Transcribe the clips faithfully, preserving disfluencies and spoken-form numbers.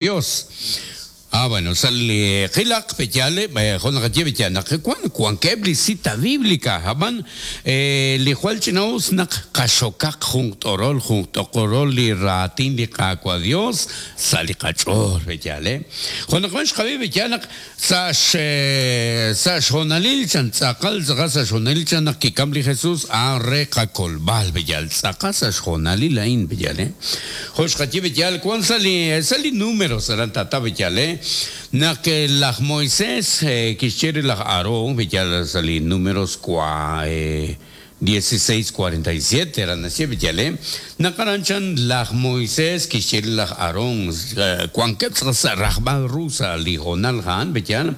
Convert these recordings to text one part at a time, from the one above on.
Dios. Ah, bueno, sal qilaq peyale jo naqaye beyal naq wan wankeb' li cita bíblica hab'an li jwal ch'inaus naq qaxokaq jun t'orol jun t'oqorol li raatin li Qaawa' Dios sa' li qach'ool beyal jo naq wan xqab'i beyal naq sa' sa' xjonalil chan tz'aqal tz'aqal sa' xjonalil chan naq kikam li Jesús a re qakolb'al beyal tz'aqal sa' xjonalil a'in beyal jo xqaye beyal wan sa' li sa' li números aran tata beyal naq laj Moisés kixye laj Aarón beyal sa' li números cua dieciséis cuarenta y siete aran naxye beyal naq aran chan laj Moisés kixye laj Aarón wankeb' sa' rajb'al ru sa' li jonal ja'an beyal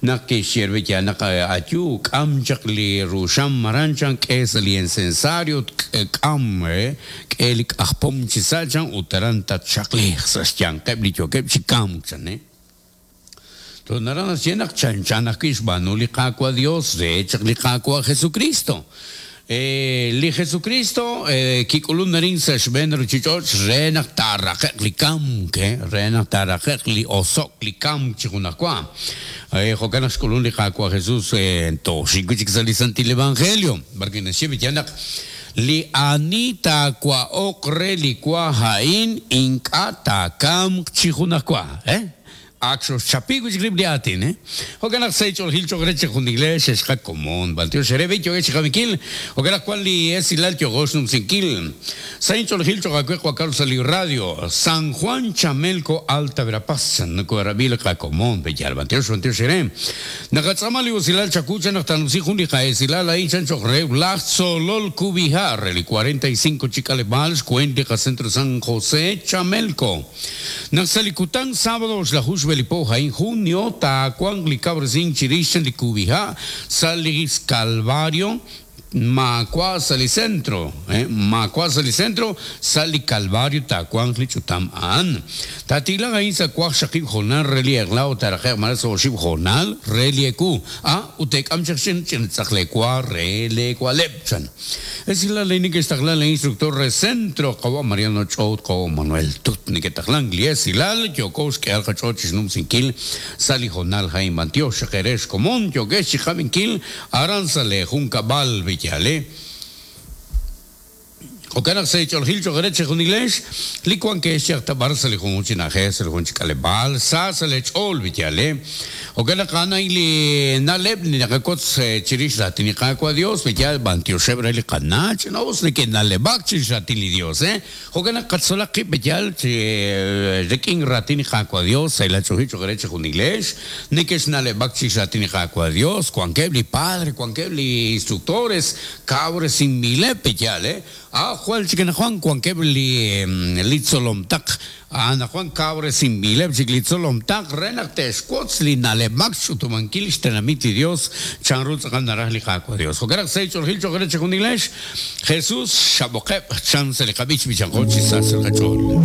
naq kixye beyal naq ayu k'am chaq li ruxam maran chan k'e sa' li incensario k'am k'e li k'ajpom chi sa' chan ut aran tatxaqliq sa' xyanqeb' li yookeb' chi kamk chan to naran naxye naq chanchan ajwi' xb'aanu li Qaawa' Dios re chaq li Qaawa' Jesucristo. Li Jesucristo kik'ulun narin sa' xb'een ruchich'och' re naq taaraqe'q li kamk re naq taaraqe'q li oso'k li kamk chi junajwa jo'kan naq xk'ulun li Qaawa' Jesús toxik wi' chik sa' li Santil Evangelio barki naxye b'iyal naq li ani taawa'oq re li wa a'in ink'a' taakamq chi junajwa eh ak xchapi wi' chik rib' li aatin eh jo'kan naq sa' ch'oolil cho'q re chi jun iglesia xqakomon b'antiox re b'i yo'e chiqawinkil jo'kan naq wan li esilal yo'go xnumsinkil sa' ch'oolil cho'q awe qwakal sa' li radio San Juan Chamelco Alta Verapaz nukorabil qakomon b'eyal b'antiox b'antiox re naqatz'ama li usilal chakucha naq tanumsi jun li qa'esilal a'in chan cho'q re laj Tzolol Kubijar li cuarenta y cinco chikaleb'al xkuent li qacentro San José Chamelco naq sa' li kutan sábado xlajux belipo jain junio takuang li cabresin chirixan li kubija salis Calvario Macua sali centro eh Macua sali centro sali Calvario takuang li chutam an tatila gain sa kuak shakib jonal reli eglao taraje maras oshib jonal reli eku a utek am chaksin chin tzakle kwa rele kwa lepchan es la ley que está la instructor re centro kawa Mariano Chout kawa Manuel Tut ni que taklan lies ilal yokos que alka chochis num sinkil sali jonal jain bantio shakeresh komon yokesh chikabinkil aran sale junkabal billale jo'kan naq sa' ch'oolil cho'q re chi jun iglesia li wan ke xyaqta bar sa' li junjun chi na'ajej sa' li jun chi k'aleb'aal sa' sa' li ch'ool billale jo'kan naq a'an li na'leb' li naqakotz chirix raatin li Qaawa' Dios billal b'antioxeb' re li qana' ch'inaus neke'na'leb'ak chirix raatin li Dios eh jo'kan naq qatzolaq qib' billal chi rik'in raatin li Qaawa' Dios sa' la ch'oolil cho'q re chi jun iglesia neke'xna'leb'ak chirix raatin li Qaawa' Dios wankeb' li padre wankeb' li instructores kabresinbileb' billal eh ah Juan chikan Juan wankeb' li li tzolomtaq ana Juan kabresinbileb' chik li tzolomtaq re naq te'xwotz li na'leb'ak x'utumankil xtenamit li Dios chanru tz'aqal naraj li Qaawa' Dios jo'kan naq sa' ch'oolil cho'q re chi jun iglesia Jesús xab'oqeb' chan sa' li qab'ich b'ichanqo chi sa' sa' qach'ool.